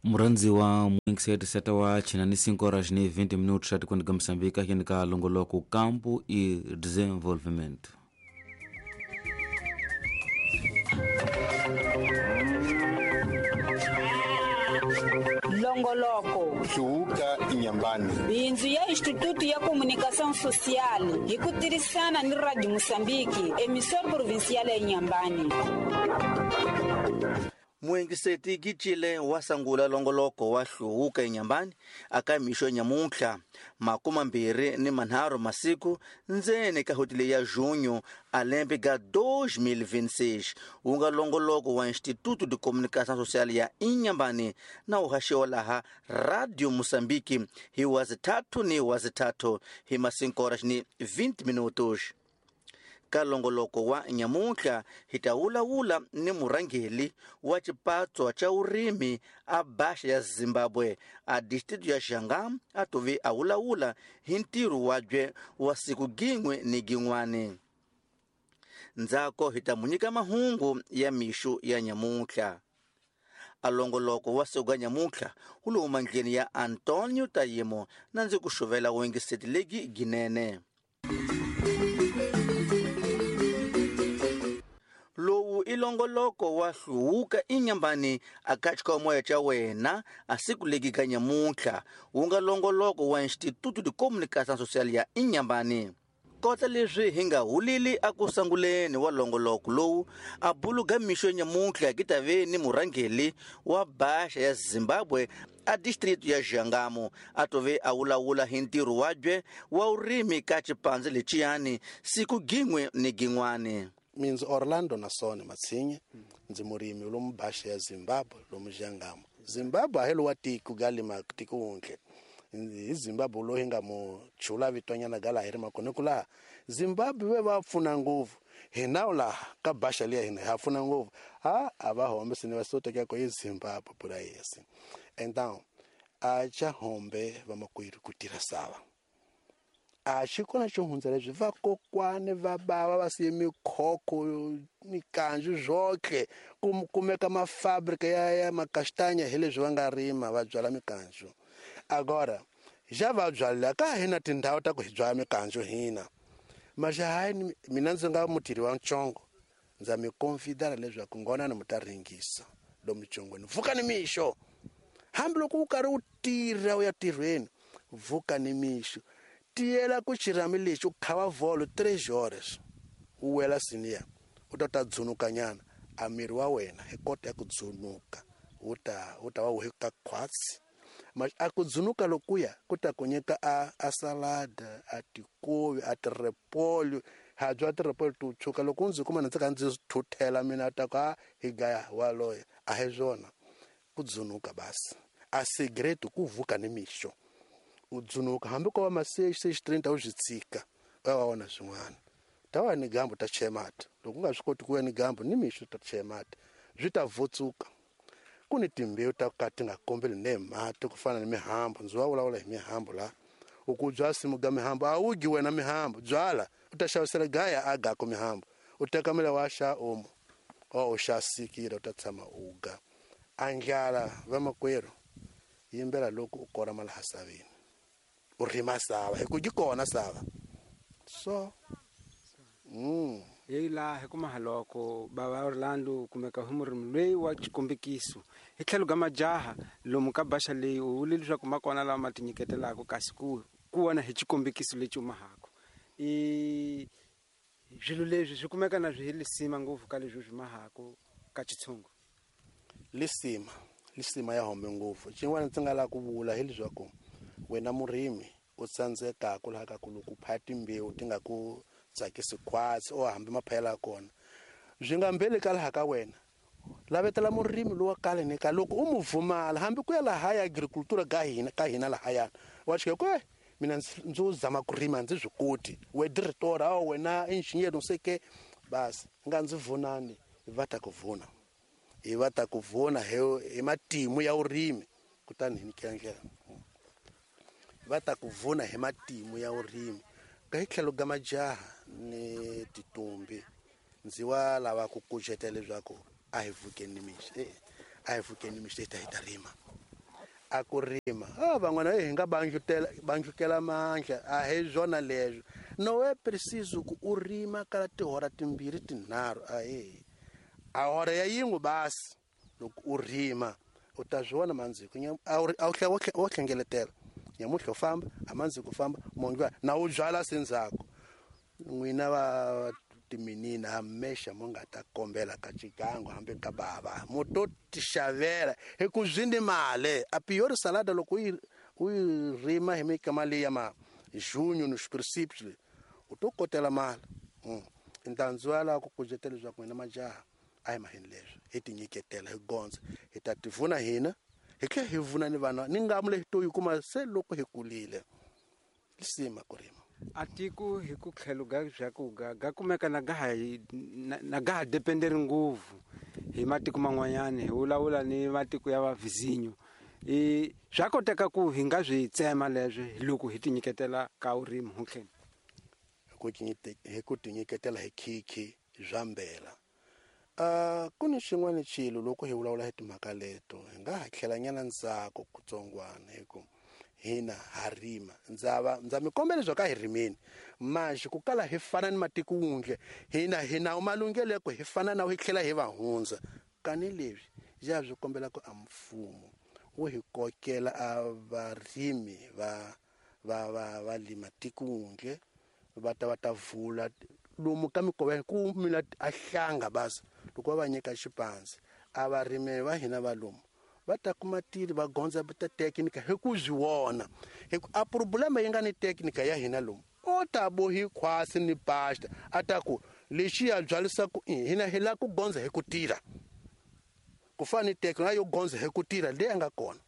Murhandziwa muingiseti wa china ni 5 horas ni 20 minutos atikwani ka Moçambique akini ka longoloko Campo e Desenvolvimento. Longoloko Hluvuka Inyambani. Bindzu ya Instituto ya Comunicação Social hi ku tirhisana ni Radio Moçambique, emissora provincial ya Inhambane. Muengiseti Gitshile wa sangula longoloko wa Hluvuka Inyambani aka mixo nyamuntlha 23 masiku ndzeni ka hotele ya junho a lembe ga 2026 wu nga longoloko wa Instituto de Comunicação Social ya Inhambane na wu haxiwa laha Radio Moçambique hi wazithathu ni wazithathu hi ma 5 horas ni 20 minutos. Ka longoloko wa nyamuntlha hi ta wulawula ni murhangeli wa xipatswa xa vurimi a Baxa ya Zimbabwe a distrito ya Xangam a tove a wulawula hi ntirho wabye wa siku gin'we ni gin'wani. Ndzhaku hi ta mu nyika mahungu ya mixo ya nyamuntlha. A longoloko wa siku ga nyamuntlha wu le mandleni ya Antonio Tayimo na ndzi ku xuvela wengiseti legi ginene. Lowu i longoloko wa Hluvuka Inyambani aka xikomoya xa wena a siku legi ka nyamuntlha wu nga longoloko wa Instituto de Comunicação Social ya Inhambane. Kota leswi hi nga hulili aku sanguleni wa longoloko lowu a buluga mixo nyamuntlha ki ta ve ni murhangeli wa Baxa ya Zimbabwe a distrito ya Xangamo a tove a wulawula hi ntirho wabye wa vurimi ka xipandze lexiyani siku gin'we ni gin'wani. Minzi Orlando Nasone Matsinye ndzi murimi lomu Baxa ya Zimbabwe lomu Xangamo. Zimbabwe a hi lowa tiko galima tiko wuntle. Hi Zimbabwe loyi nga mu chula vitonyana gala hi ri makona ku laha Zimbabwe ve va pfuna ngopfu hina laha ka Baxa liya hina ha pfuna ngopfu ha a va hombe sine va soteka ko hi Zimbabwe pura yesi. Então a cha hombe va makwerhu ku tirha sava. A xi kona xo hundza leswi vakokwane va bava va siye mikhokho mikanju zwoke ku kumeka mafabrika ya makastanya hi leswi va nga rima va byala mikanju. Agora ja va byala ka hina tindhawu ta ku hi byala mikanju hina maxa hayi mina ndzi nga mutirhi wa ntsongo ndza mi confidara leswaku ngona ni mu ta ringisa lomu ntsongweni vuka ni mixo hambiloko u karhi u tirha u ya tirhweni vuka ni mixo tiyela ku xirhami lexi u khava vholo 3 horas u wela siniya u ta ta dzunukanyana a miri wa wena hi kota ya ku dzunuka wu ta va wu ka khwatsi mas a ku dzunuka lokuya ku ta ku nyika a salada a tikovi a tirepolyo ha bya tirepolyo to tshuka loko ndzi kuma ndzi ka ndzi thuthela mina ta ka hi gaya waloye a hi swona ku dzunuka basi a cigarette ku vuka ni mixo u dzunuka hambi ko va ma 6:30 u swi tshika u ya vona swin'wana ta wa ni gambo ta chaya mati loko u nga swi koti ku ya ni gambo ni mixo ta chaya mati swi ta vutsuka ku ni timbewu ta ka ti nga kombeli ne mati ku fana ni mihambo ndzi va vulavula hi mihambo la u ku bya simu ga mihambo a wu gi wena mihambo byala u ta xavisela gaya a gako mihambo u teka mela wa xa omo o u xa sikile u ta tshama u ga a ndlala vamakwerhu yimbela loko u kora malahasaveni u rima sava hi ku yi kona sava so hi laha hi kuma haloko bava Orlando kumeka hi murimi loyi wa xikombekiso hi tlhelo ka majaha lomu ka Baxa leyi u vule leswaku ma kona lawa ma tinyiketelaka kasi ku vona hi xikombekiso lexi u mahako i swilo leswi swi kumeka na swi hi lisima ngopfu ka leswi swi mahako ka xitshungu lisima ya hombe ngopfu xin'wana ndzi nga lava ku vula hi leswaku wena murimi u tsandzekaka laha ka ku loko u phaya timbewu ti nga ku tsakisi khwatsi o hambi maphayela ya kona swi nga mbeli ka laha ka wena lavetela murimi lowa kale ni ka loko u mu vumala hambi ku ya laha ya agricultura ka hina lahayana wa xika ku mina ndzi zama ku rima ndzi swi koti we diretora a wena engineer no seke basi nga ndzi vunani va ta ku vuna hi va ta ku vuna hi matimu ya vurimi kutani hi nyikela ndlela va ta ku vuna hi matimu ya vurimi ka hi tlhelo ka majaha ni titumbi ndzi wa lava ku kucetela leswaku a hi vukeni ni mixo a hi vukeni ni mixo hi ta rima. A ku rima van'wana hi nga banjukela mandla a hi swona leswo no é preciso ku u rima kala tihora timbirhi tinharhu ahe a hora ya yin'we basi loko u rima u ta swi vona mandziko a wu hlengeletela nyamuhla u famba a mandziko u famba mongiwa na u byala sendzhaku n'wina va timinina hamexa mo nga ta kombela ka xigangu hambi ka bava mo to tixavela hi ku zwindi mali a piori salada loko u yi rima hi mikama leyi ya ma junho nos princípios le u to kotela mali ntandzwala ku kucetela leswaku n'wina majaha a hi maheni leswi hi tinyiketela hi gondza hi ta tivuna hina hi tlhela hi vuna ni vana ni ngamu leyi to yi kuma se loko hi kulile lisima ku rima a tiko hi ku tlhelo ga bya ku ga ga kumeka na ga ha na ga ha dependeri ngopfu hi matiko man'wanyana hi vulavula ni matiko ya vavizinyo i swa koteka ku hi nga swi tsema leswi loko hi tinyiketela ka vurimi hutlheni hi ku tinyiketela hi khikhi bya mbela ku ni xin'wana xilo loko hi vulavula hi timhaka leto hi nga ha tlhelanyana ndzhaku kutsongwana hi ku hina ha rima ndza mi kombela leswaku a hi rimeni manjhe ku kala hi fana ni matiko wundle hina hi nawu malunghelo ya ku hi fana na hi tlhela hi va hundza kani leswi ya swi kombela ku a mfumo wu hi kokela a varimi va lima tiko wundle va ta vula lomu ka mikova ku mina a hlanga basi loko va nyika xipandzi a varimi va hina va lomu va ta kuma tiri va gondza ta teknika hi ku swi vona hi ku a problema yi nga ni teknika ya hina lomu o ta bohi khwasi ni pasta a ta ku lexi ya byalisa ku hina hi la ku gondza hi ku tirha ku fana ni teknika yo gondza hi ku tirha leyi nga kona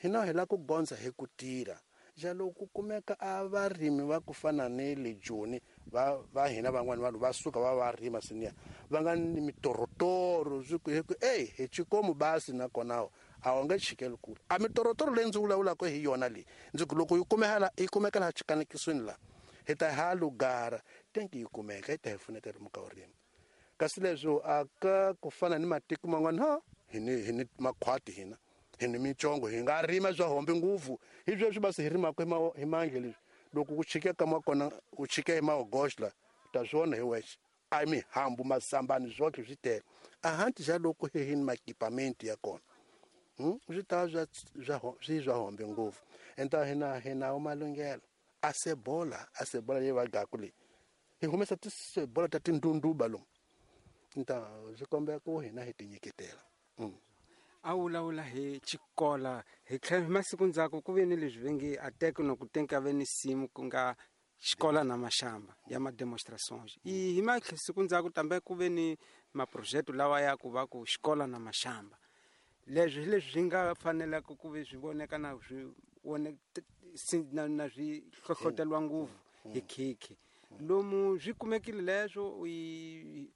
hina hi la ku gondza hi ku tirha ja loko ku kumeka a varimi va ku fana ni le Joni va hina van'wana vanhu va suka va rima senior va nga ni mitorotoro swi ku ey hi xikomu basi nakona a wu nge chikeli kule a mitorotoro leyi ndzi vulavulaka hi yona leyi ndzi ku loko yi kumeka yi kumeka laha xikanekisweni laha hi ta ha lugara tenki yi kumeka yi ta hi pfuneta lomu ka vurimi kasi leswo a ka ku fana ni matiko man'wana ha hi ni makhwati hina hi ni mitsongo hi nga rima swa hombe ngopfu hi sweswi basi hi rimaka hi mandla leswi loko ku chike ka makona u chike hi maogoxla ta swona hi wexe a mihambu masambani swotlhe swi tele a hanti xa loko hi ni makipamenti ya kona swi ta swi swa hombe ngopfu enta hina hi nawo malunghelo a sebola leyi va gaku leyi hi humesa tisebola ta tindunduba lomu nta swi kombela ku hina hi tinyiketela a vulavula hi xikola hi tlhela hi masiku ndzhaku ku ve ni leswi va nge a teko ku tenka ve ni simu ku nga xikola na maxamba ya ma-demonstrations hi masiku ndzhaku tambe ku ve ni maprojeto lawa ya ku va ku xikola na maxamba leswi hi leswi swi nga fanelaka ku ve swi voneka na swi na swi hlohlotelwa ngopfu hi khikhi lomu swi kumekile leswo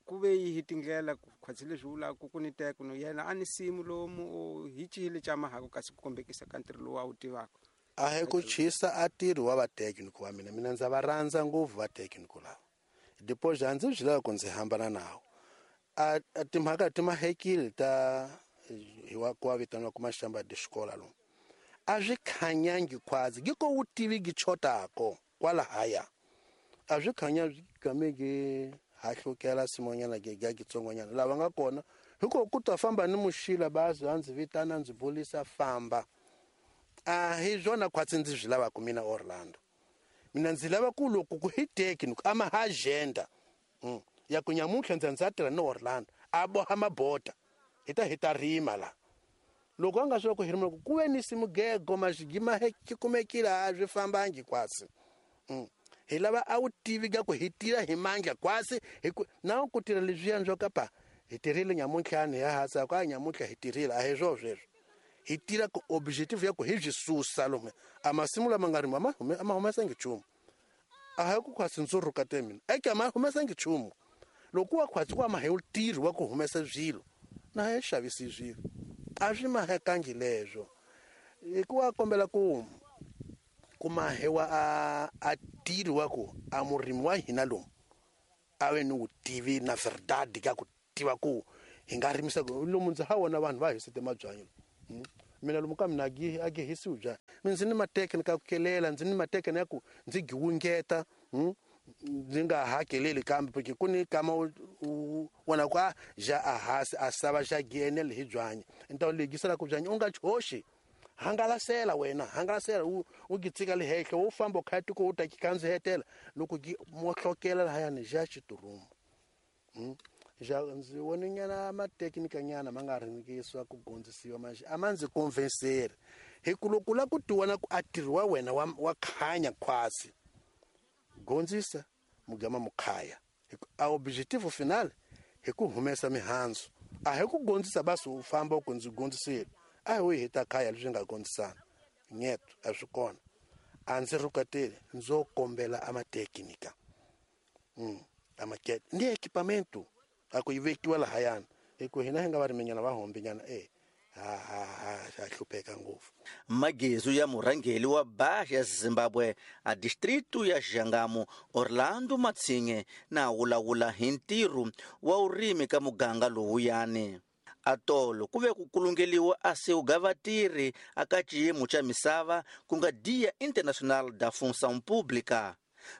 ku ve hi tindlela khwatsi leswi vulaka ku ni teko no yena a ni simu lomu hi cihile xa mahako kasi ku kombekisa ka ntirho lowu a wu tivaka a hi ku chisa a tirhi wa vatekiniki wa mina ndza va rhandza ngopfu vatekiniki lava depois a ndzi swi lava ku ndzi hambana nawo a timhaka ti mahekile ta hi wa ku wa vitaniwa ku maxamba de xikola lomu a swi khanyangi khwazi gi ko wu tivi gi chotako kwalahaya a swi khanya swi game gi hahlukela simonyana gi ga gitsongonyana lava nga kona hiko ku ta famba ni muxila bazi a ndzi vitana ndzi bulisa famba a hi swona khwatsi ndzi swi lavaka mina Orlando mina ndzi lava ku loko ku hi tekini ama ha agenda ya ku nyamuntlha ndza ndza tirha ni Orlando a boha mabota hi ta rima la loko a nga swi ku hi rima ku ve ni simugego maxigima ki kumekile a swi fambangi kwasi hi lava a wu tivi ka ku hi tirha hi mandla kwasi hi ku na ku tirha leswiya swo kapa hi tirhile nyamuntlhani ya hasa ku a nyamuntlha hi tirhile a hi swo sweswo hi tirha ku objective ya ku hi byi susa lomu a masimu lama nga rimiwa a ma humesangi nchumu a hi ku khwasi ndzi rhukate mina eke a ma humesangi nchumu loko wa khwasi ku ama hi tirhi wa ku humesa swilo na hi xavisi swilo a swi mahekangi leswo hi ku wa kombela ku mahewa a tirhi wa ku a murimi wa hina lomu a ve ni vutivi na verdade ka ku tiva ku hi nga rimisa ku lomu ndzi ha vona vanhu va hisete mabyanyi Mina lomu ka mina a gi hisiwi byanyi. Mina ndzi ni matekinika ku kelela, ndzi ni matekinika ya ku ndzi giwungeta, ndzi nga hakeleli kambe porque ku ni kama u vona ku a ja a hasi a sava xa gienele hi byanyi. Ni ta u legisela ku byanyi u nga choxi. Hangalasela wena, hangalasela u gi tshika le henhla, wo famba u kha tiko u ta kandzihetela loko gi mohlokela lahayani ja xiturumu. Ja ndzi vone nyana matekinika nyana ma nga ringisiwa ku gondzisiwa manje a ma ndzi convinceri. Hi ku loko la ku tiwana ku a tirhi wa wena wa khanya khwasi. Gondzisa mugama mukhaya. A objective final hi ku humesa mihandzu. A hi ku gondzisa basi u famba u ku ndzi gondzisile. A hi heta khaya leswi nga gondzisana. Nyeto a swi kona. A ndzi rhukateli ndzo kombela a matekinika. A makete ni equipamento a ku yi vekiwa lahayana. Hi ku hina hi nga variminyana va hombinyana ha hlupheka ngopfu. Magezu ya murhangeri wa Baxa ya Zimbabwe a distrito ya Xangamu Orlando Matsinhe na wulawula hi ntirho wa urimi ka muganga lowuyani. Atolo ku ve ku kulungeliwa a seuga vatirhi aka xiyimo xa misava ku nga Dia Internacional da Função Pública.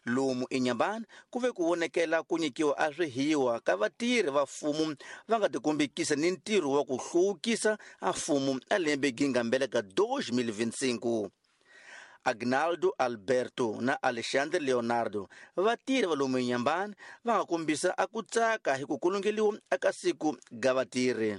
Lomu eNyambani ku ve ku vonekela ku nyikiwa a swihiwa ka vatirhi va mfumo va nga tikombekisa ni ntirho wa ku hluvukisa a mfumo a lembe gingambela ka 2025. Agnaldo Alberto na Alexandre Leonardo vatirhi va lomu eNyambani va nga kombisa a ku tsaka hi ku kulungeliwa aka siku ga vatirhi.